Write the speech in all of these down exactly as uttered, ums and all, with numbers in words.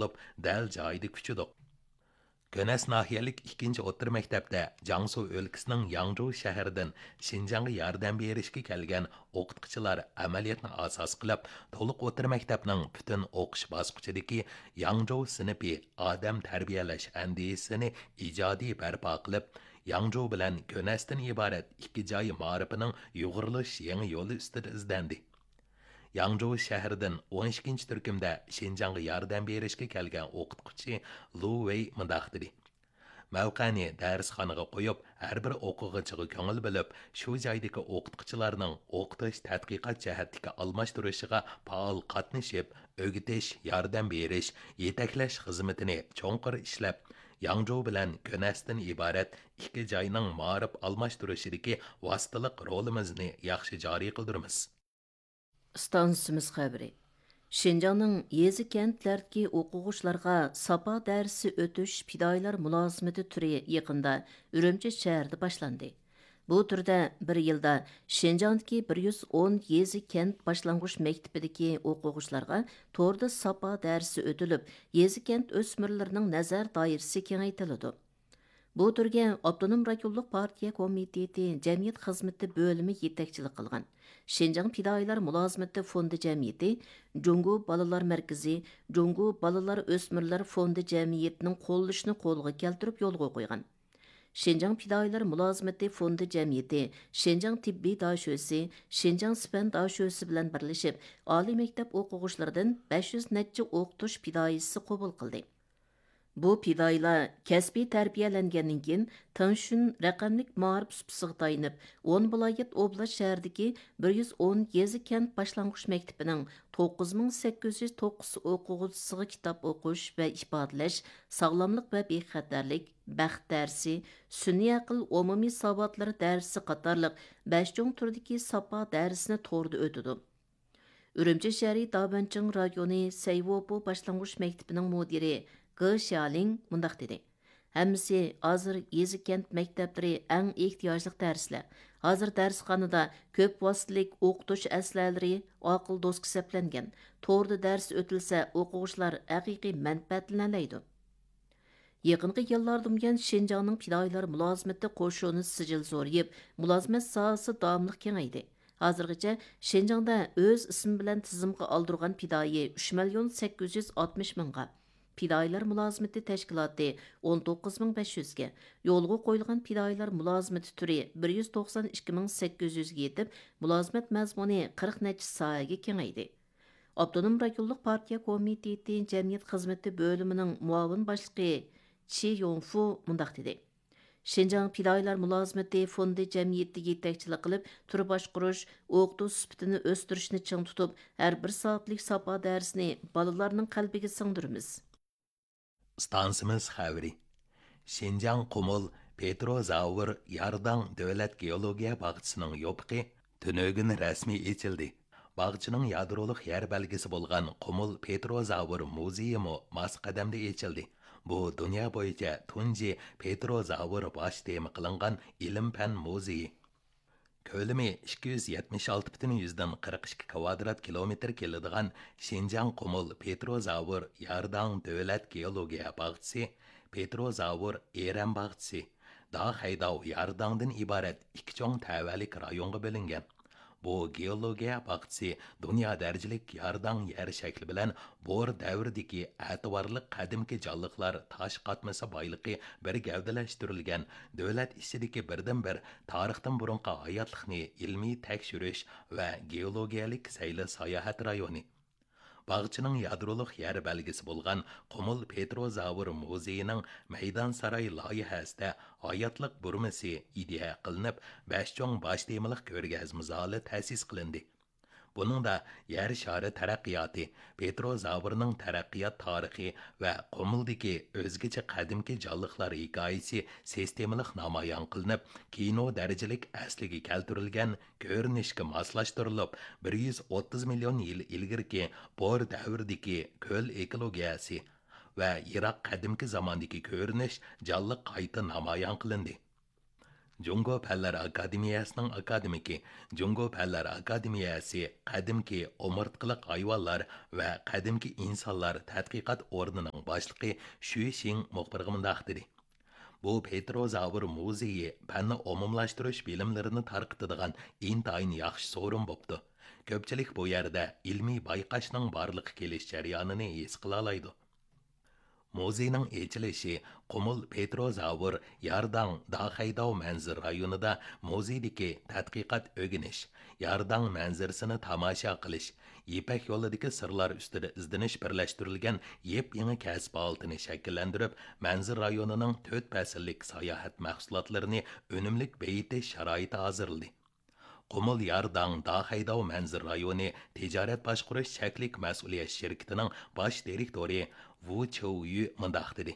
بولۇپ، دەل جايىدا كۈچىدۇق. گۆنەس ناھىيەلىك ئىككىنچى ئوتتۇرا مەكتەپتە جياڭسۇ ئۆلكىسىنىڭ ياڭجۇ شەھىرىدىن شىنجاڭغا ياردەم بېرىشكە كەلگەن ئوقۇتقۇچىلار ئەمەلىيەتنى ئاساس قىلىپ، تولۇق ئوتتۇرا مەكتەپنىڭ پۈتۈن ئوقۇش باسقۇچىدىكى ياڭجۇ سىنىپى ئادەم تەربىيەلەش ئەندىزىسىنى ئىجادىي بەرپا قىلىپ، ياڭجۇ بىلەن گۆنەستىن ئىبارەت ئىككى جاي مائارىپىنىڭ يۇغۇرۇلۇش يېڭى يولى ئۈستىدە ئىزدەندى. ياڭجۇ شەھىرىدىن ئون ئىككىنچى تۈركۈمدە شىنجاڭغا ياردەم بېرىشكە كەلگەن ئوقۇتقۇچى لۇ ۋېي مۇنداق دېدى: مەۋقەنى دەرسخانىغا قويۇپ، ھەر بىر ئوقۇغۇچىغا كۆڭۈل بۆلۈپ، شۇ جايدىكى ئوقۇتقۇچىلارنىڭ ئوقۇتۇش تەتقىقات جەھەتتىكى ئالماشتۇرۇشىغا پائال قاتنىشىپ، ئۆگىتىش، ياردەم بېرىش، يېتەكلەش خىزمىتىنى چوڭقۇر ئىشلەپ، ياڭجۇ بىلەن گۆنەستىن ئىبارەت ئىككى جاينىڭ مائارىپ ئالماشتۇرۇشىدىكى ۋاسىتىلىق رولىمىزنى ياخشى جارى قىلدۇرىمىز. ئىستانسىمىز خەۋىرى. شىنجاڭنىڭ يېزا، كەنتلەردىكى ئوقۇغۇچىلارغا ساپا دەرسى ئۆتۈش پىدائىيلار مۇلازىمىتى تۈرى يېقىندا ئۈرۈمچى شەھىرىدە باشلاندى. بۇ تۈردە بىر يىلدا شىنجاڭدىكى بىر يۈز ئون يېزا، كەنت باشلانغۇچ مەكتىپىدىكى ئوقۇغۇچىلارغا توردا ساپا دەرسى ئۆتۈلۈپ، يېزا، كەنت ئۆسمۈرلىرىنىڭ نەزەر دائىرىسى كېڭەيتىلىدۇ. بۇ تۈرگە ئاپتونوم رايونلۇق پارتىيە كومىتېتى جەمئىيەت خىزمىتى بۆلۈمى يېتەكچىلىك قىلغان شىنجاڭ پىدائىيلار مۇلازىمىتى فوندى جەمئىيىتى، جۇڭگو بالىلار مەركىزى، جۇڭگو بالىلار ئۆسمۈرلەر فوندى جەمئىيىتىنىڭ قوللىشىنى قولغا كەلتۈرۈپ يولغا قويغان. شىنجاڭ پىدائىيلار مۇلازىمىتى فوندى جەمئىيىتى، شىنجاڭ تېببىي داشۆسى، شىنجاڭ سىپەن داشۆسى بىلەن بىرلىشىپ، ئالىي مەكتەپ ئوقۇغۇچىلىرىدىن بەش يۈز نەچچە ئوقۇتۇش پىدائىيسى قوبۇل قىلدى. بۇ پىدائىيلار كەسپىي تەربىيەلەنگەندىن كېيىن، تېڭشۈن رەقەملىك مائارىپ سۇپىسىغا تايىنىپ، ئون ۋىلايەت، ئوبلاست، شەھەردىكى بىر يۈز ئون يېزا، كەنت باشلانغۇچ مەكتىپىنىڭ توققۇز مىڭ سەككىز يۈز توققۇز ئوقۇغۇچىسىغا كىتاب ئوقۇش ۋە ئىپادىلەش، ساغلاملىق ۋە بىخەتەرلىك، بەخت دەرسى، سۈنئىي ئەقىل ئومۇمىي ساۋاتلىرى دەرسى قاتارلىق بەش چوڭ تۈردىكى ساپا دەرسىنى توردا ئۆتىدۇ. ئۈرۈمچى شەھىرى دابەنچىڭ رايونى سەيۋوپو باشلانغۇچ مەكتىپىنىڭ مۇدىرى گې شيالىڭ مۇنداق دېدى: ھەممىسى ھازىر يېزا، كەنت مەكتەپلىرى ئەڭ ئېھتىياجلىق دەرسلەر. ھازىر دەرسخانىدا كۆپ ۋاسىتىلىك ئوقۇتۇش ئەسلىھەلىرى، ئاقىل دوسكا سەپلەنگەن. توردا دەرس ئۆتۈلسە، ئوقۇغۇچىلار ھەقىقىي مەنپەئەتلىنەلەيدۇ. يېقىنقى يىللاردىن بۇيان، شىنجاڭنىڭ پىدائىيلار مۇلازىمىتى قوشۇنى سىجىل زورىيىپ، مۇلازىمەت ساھەسى داۋاملىق كېڭەيدى. ھازىرغىچە شىنجاڭدا ئۆز ئىسمى بىلەن تىزىمغا ئالدۇرغان پىدائىي ئۈچ مىليون سەككىز يۈز ئاتمىش مىڭغا، پىدائىيلار مۇلازىمىتى تەشكىلاتى ئون توققۇز مىڭ بەش يۈزگە، يولغا قويۇلغان پىدائىيلار مۇلازىمىتى تۈرى بىر يۈز توقسان ئىككى مىڭ سەككىز يۈزگە يېتىپ، مۇلازىمەت مەزمۇنى قىرىق نەچچە ساھەگە كېڭەيدى. ئاپتونوم رايونلۇق پارتىيە كومىتېتى جەمئىيەت خىزمىتى بۆلۈمىنىڭ مۇئاۋىن باشلىقى چى يوڭفۇ مۇنداق دېدى: شىنجاڭ پىدائىيلار مۇلازىمىتى فوندى جەمئىيىتى يېتەكچىلىك قىلىپ، تۈر باشقۇرۇش، ئوقۇتۇش سۈپىتىنى ئۆستۈرۈشنى چىڭ تۇتۇپ، ھەر بىر سائەتلىك ساپا دەرسىنى بالىلارنىڭ قەلبىگە سىڭدۈرىمىز. ئىستانسىمىز خەۋىرى. شىنجاڭ قۇمۇل پېتروزاۋر يارداڭ دۆلەت گېئولوگىيە باغچىسىنىڭ يوپۇقى تۈنۈگۈن رەسمىي ئېچىلدى. باغچىنىڭ يادرولۇق يەر بەلگىسى بولغان قۇمۇل پېتروزاۋر مۇزېيىمۇ ماس قەدەمدە ئېچىلدى. بۇ دۇنيا بويىچە تۇنجى پېتروزاۋر باش تېما قىلىنغان ئىلىم-پەن مۇزېيى. كۆلىمى ئىككى يۈز يەتمىش ئالتە پۈتۈن يۈزدىن قىرىق ئىككى كىۋادرات كىلومېتىر كېلىدىغان شىنجاڭ قۇمۇل پېتروزاۋر يارداڭ دۆلەت گېئولوگىيە باغچىسى، پېتروزاۋر ئېرەن باغچىسى، داخەيداۋ يارداڭدىن ئىبارەت ئىككى چوڭ تەۋەلىك رايونغا بۆلۈنگەن. بۇ گېئولوگىيە باغچىسى دۇنيا دەرىجىلىك يارداڭ يەر شەكلى بىلەن بور دەۋرىدىكى ئەتىۋارلىق قەدىمكى جانلىقلار تاش قاتمىسى بايلىقى بىر گەۋدىلەشتۈرۈلگەن دۆلەت ئىچىدىكى بىردىنبىر تارىختىن بۇرۇنقى ھاياتلىقنى ئىلمىي تەكشۈرۈش ۋە گېئولوگىيەلىك سەيلە ساياھەت رايونى. باغچىنىڭ يادرولۇق يەر بەلگىسى بولغان قۇمۇل پېتروزاۋر مۇزېيىنىڭ مەيدانساراي لايىھەسىدە ھاياتلىق بۇرمىسى ئىدىيە قىلىنىپ، بەش چوڭ باش تېمىلىق كۆرگەزمە زالى تەسىس قىلىندى. بۇنىڭدا يەر شارى تەرەققىياتى، پېتروزاۋرنىڭ تەرەققىيات تارىخى ۋە قۇمۇلدىكى ئۆزگىچە قەدىمكى جانلىقلار ھېكايىسى سىستېمىلىق نامايان قىلىنىپ، كىنو دەرىجىلىك ئەسلىگە كەلتۈرۈلگەن كۆرۈنۈشكە ماسلاشتۇرۇلۇپ، بىر يۈز ئوتتۇز مىليون يىل ئىلگىرىكى بور دەۋرىدىكى كۆل ئېكولوگىيەسى ۋە يىراق قەدىمكى زاماندىكى كۆرۈنۈش جانلىق قايتا نامايان قىلىندى. جۇڭگو پەنلەر ئاكادېمىيەسىنىڭ ئاكادېمىكى، جۇڭگو پەنلەر ئاكادېمىيەسى قەدىمكى ئومۇرتقىلىق ھايۋانلار ۋە قەدىمكى ئىنسانلار تەتقىقات ئورنىنىڭ باشلىقى شۈ شىڭ مۇخبىرغا مۇنداق دېدى: بۇ پېتروزاۋر مۇزېيى پەننى ئومۇملاشتۇرۇش بىلىملىرىنى تارقىتىدىغان ئىنتايىن ياخشى سورۇن بوپتۇ. كۆپچىلىك بۇ يەردە ئىلمىي بايقاشنىڭ بارلىققا كېلىش جەريانىنى ھېس قىلالايدۇ. مۇزېينىڭ ئېچىلىشى قۇمۇل پېتروزاۋر يارداڭ داخەيداۋ مەنزىرە رايونىدا مۇزېيدىكى تەتقىقات ئۆگىنىش، يارداڭ مەنزىرىسىنى تاماشا قىلىش، يىپەك يولىدىكى سىرلار ئۈستىدە ئىزدىنىش بىرلەشتۈرۈلگەن يېپيېڭى كەسىپ ھالىتىنى شەكىللەندۈرۈپ، مەنزىرە رايونىنىڭ تۆت پەسىللىك ساياھەت مەھسۇلاتلىرىنى ئۈنۈملۈك بېيىتىش شارائىتى ھازىرلىدى. قۇمۇل يارداڭ داخەيداۋ مەنزىرە رايونى تىجارەت باشقۇرۇش چەكلىك مەسئۇلىيەت شىركىتىنىڭ باش دىرېكتورى ۋۇ چيۇيۈ مۇنداق دېدى: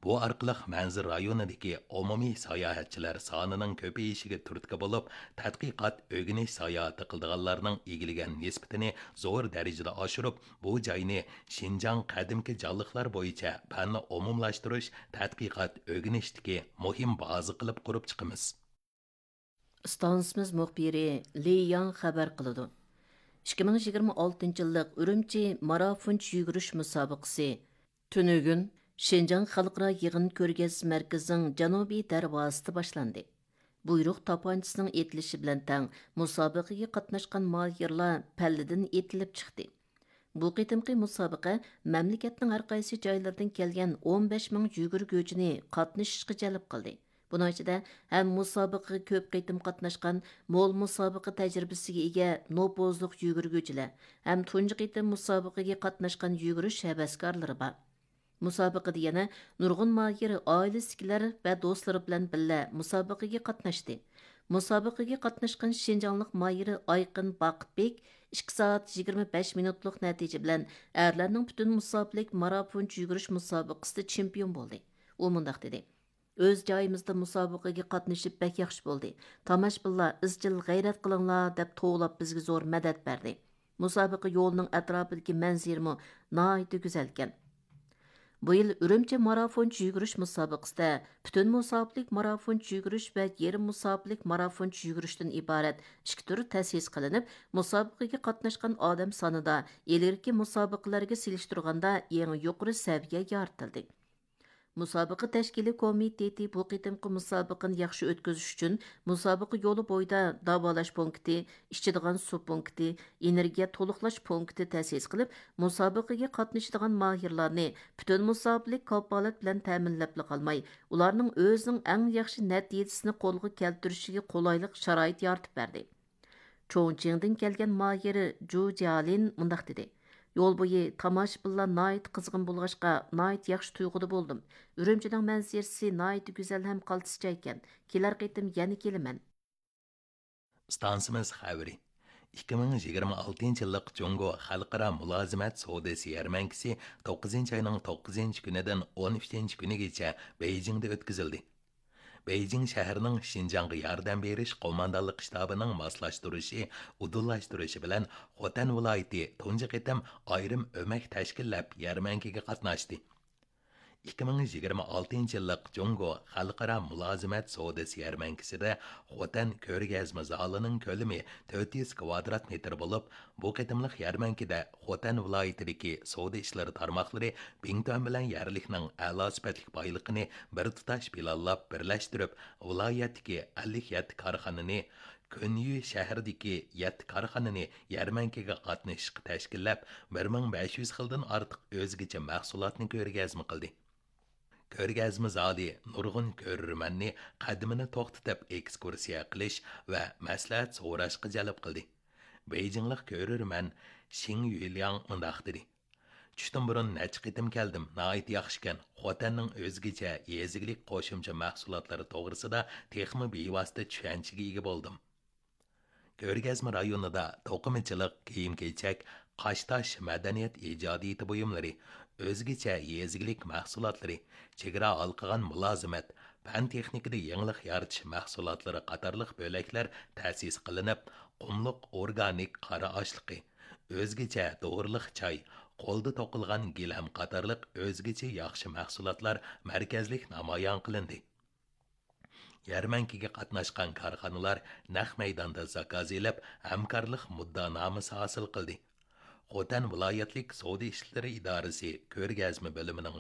بۇ ئارقىلىق مەنزىرە رايونىدىكى ئومۇمىي ساياھەتچىلەر سانىنىڭ كۆپىيىشىگە تۈرتكە بولۇپ، تەتقىقات، ئۆگىنىش ساياھىتى قىلىدىغانلارنىڭ ئىگىلىگەن نىسبىتىنى زور دەرىجىدە ئاشۇرۇپ، بۇ جاينى شىنجاڭ قەدىمكى جانلىقلار بويىچە پەننى ئومۇملاشتۇرۇش، تەتقىقات، ئۆگىنىشتىكى مۇھىم بازا قىلىپ قۇرۇپ چىقىمىز. ئىستانسىمىز مۇخبىرى لى ياڭ خەۋەر قىلىدۇ. ئىككى مىڭ يىگىرمە ئالتىنچى يىللىق ئۈرۈمچى مارافونچە يۈگۈرۈش مۇسابىقىسى تۈنۈگۈن شىنجاڭ خەلقئارا يىغىن كۆرگەزمە مەركىزىنىڭ جەنۇبىي دەرۋازىسىدا باشلاندى. بۇيرۇق تاپانچىسىنىڭ ئېتىلىشى بىلەن تەڭ مۇسابىقىگە قاتناشقان ماھىرلار پەللىدىن ئېتىلىپ چىقتى. بۇ قېتىمقى مۇسابىقە مەملىكەتنىڭ ھەر قايسى جايلىرىدىن كەلگەن ئون بەش مىڭ يۈگۈرگۈچىنى قاتنىشىشقا جەلپ قىلدى. بۇنىڭ ئىچىدە ھەم مۇسابىقىگە كۆپ قېتىم قاتناشقان، مول مۇسابىقە تەجرىبىسىگە ئىگە نوپۇزلۇق يۈگۈرگۈچىلەر، ھەم تۇنجى قېتىم مۇسابىقىگە قاتناشقان يۈگۈرۈش ھەۋەسكارلىرى بار. مۇسابىقىدە يەنە نۇرغۇن ماھىر ئائىلىسىدىكىلەر ۋە دوستلىرى بىلەن بىللە مۇسابىقىگە قاتناشتى. مۇسابىقىگە قاتناشقان شىنجاڭلىق ماھىر ئايقىن باقىتبېك ئىككى سائەت يىگىرمە بەش مىنۇتلۇق نەتىجە بىلەن ئەرلەرنىڭ پۈتۈن مۇساپىلىك مارافونچە يۈگۈرۈش مۇسابىقىسىدە چېمپىيون بولدى. ئۇ مۇنداق دېدى: ئۆز جايىمىزدا مۇسابىقىگە قاتنىشىپ بەك ياخشى بولدى. تاماشىبىنلار ئىزچىل غەيرەت قىلىڭلار دەپ توۋلاپ بىزگە زور مەدەت بەردى. مۇسابىقە يولىنىڭ ئەتراپىدىكى مەنزىرىمۇ ناھايىتى گۈزەلكەن. بۇ يىل ئۈرۈمچى مارافونچە يۈگۈرۈش مۇسابىقىسىدە پۈتۈن مۇساپىلىك مارافونچە يۈگۈرۈش ۋە يېرىم مۇساپىلىك مارافونچە يۈگۈرۈشتىن ئىبارەت ئىككى تۈر تەسىس قىلىنىپ، مۇسابىقىگە قاتناشقان ئادەم سانىدا ئىلگىرىكى مۇسابىقىلەرگە سېلىشتۇرغاندا يېڭى يۇقىرى سەۋىيە يارىتىلدى. مۇسابىقە تەشكىلىي كومىتېتى بۇ قېتىمقى مۇسابىقىنى ياخشى ئۆتكۈزۈش ئۈچۈن مۇسابىقە يولى بويىدا داۋالاش پونكىتى، ئىچىدىغان سۇ پونكىتى، ئېنېرگىيە تولۇقلاش پونكىتى تەسىس قىلىپ، مۇسابىقىگە قاتنىشىدىغان ماھىرلارنى پۈتۈن مۇساپىلىك كاپالەت بىلەن تەمىنلەپلا قالماي، ئۇلارنىڭ ئۆزىنىڭ ئەڭ ياخشى نەتىجىسىنى قولغا كەلتۈرۈشىگە قولايلىق شارائىت يارىتىپ بەردى. چوڭچىڭدىن كەلگەن ماھىر جۇ جيالىن مۇنداق دېدى: يول بويى تاماشىبىنلار ناھايىتى قىزغىن بولغاچقا، ناھايىتى ياخشى تۇيغۇدا بولدۇم. ئۈرۈمچىنىڭ مەنزىرىسى ناھايىتى گۈزەل ھەم قالتىسچە ئىكەن. كېلەر قېتىم يەنە كېلىمەن. ئىستانسىمىز خەۋىرى. ئىككى مىڭ يىگىرمە ئالتىنچى يىللىق جۇڭگو خەلقئارا مۇلازىمەت سودىسى يەرمەنكىسى توققۇزىنچى ئاينىڭ توققۇزىنچى كۈنىدىن ئون ئۈچىنچى كۈنىگىچە بېيجىڭدا ئۆتكۈزۈلدى. بېيجىڭ شەھىرىنىڭ شىنجاڭغا ياردەم بېرىش قوماندانلىق شتابىنىڭ ماسلاشتۇرۇشى، ئۇدۇللاشتۇرۇشى بىلەن خوتەن ۋىلايىتى تۇنجى قېتىم ئايرىم ئۆمەك تەشكىللەپ يەرمەنكىگە قاتناشتى. ئىككى مىڭ يىگىرمە ئالتىنچى يىللىق جۇڭگو خەلقئارا مۇلازىمەت سودىسى يەرمەنكىسىدە خوتەن كۆرگەزمە زالىنىڭ كۆلىمى تۆت يۈز كۋادرات مېتىر بولۇپ، بۇ قېتىملىق يەرمەنكىدە خوتەن ۋىلايىتىدىكى سودا ئىشلىرى تارماقلىرى بىڭتۈەن بىلەن يەرلىكنىڭ ئەلا سۈپەتلىك بايلىقىنى بىر تۇتاش پىلانلاپ بىرلەشتۈرۈپ، ۋىلايەتتىكى ئەللىك يەتتە كارخانىنى، كۆنيۈ شەھىرىدىكى يەتتە كارخانىنى يەرمەنكىگە قاتنىشىشقا تەشكىللەپ، بىر مىڭ بەش يۈز خىلدىن ئارتۇق ئۆزگىچە مەھسۇلاتنى كۆرگەزمە قىلدى. كۆرگەزمە زالى نۇرغۇن كۆرۈرمەننى قەدىمىنى توختىتىپ ئېكسكۇرسىيە قىلىش ۋە مەسلىھەت سوراشقا جەلپ قىلدى. بېيجىڭلىق كۆرۈرمەن شىڭ يۈلياڭ مۇنداق دېدى: چۈشتىن بۇرۇن نەچچە قېتىم كەلدىم، ناھايىتى ياخشىكەن. خوتەننىڭ ئۆزگىچە يېزا ئىگىلىك قوشۇمچە مەھسۇلاتلىرى توغرىسىدا تېخىمۇ بىۋاسىتە چۈشەنچىگە ئىگە بولدۇم. كۆرگەزمە رايونىدا توقۇمىچىلىق، كىيىم-كېچەك، قاشتاش، مەدەنىيەت ئىجادىيىتى بۇيۇملىرى، ئۆزگىچە يېزا ئىگىلىك مەھسۇلاتلىرى، چېگرا ھالقىغان مۇلازىمەت، پەن-تېخنىكىدا يېڭىلىق يارىتىش مەھسۇلاتلىرى قاتارلىق بۆلەكلەر تەسىس قىلىنىپ، قۇملۇق ئورگانىك قارا ئاشلىقى، ئۆزگىچە دورىلىق چاي، قولدا توقۇلغان گىلەم قاتارلىق ئۆزگىچە ياخشى مەھسۇلاتلار مەركەزلىك نامايان قىلىندى. يەرمەنكىگە قاتناشقان كارخانىلار نەق مەيداندا زاكاز ئېلىپ، ھەمكارلىق مۇددىئانامىسى ھاسىل قىلدى. خوتەن ۋىلايەتلىك سودا ئىشلىرى ئىدارىسى كۆرگەزمە بۆلۈمىنىڭ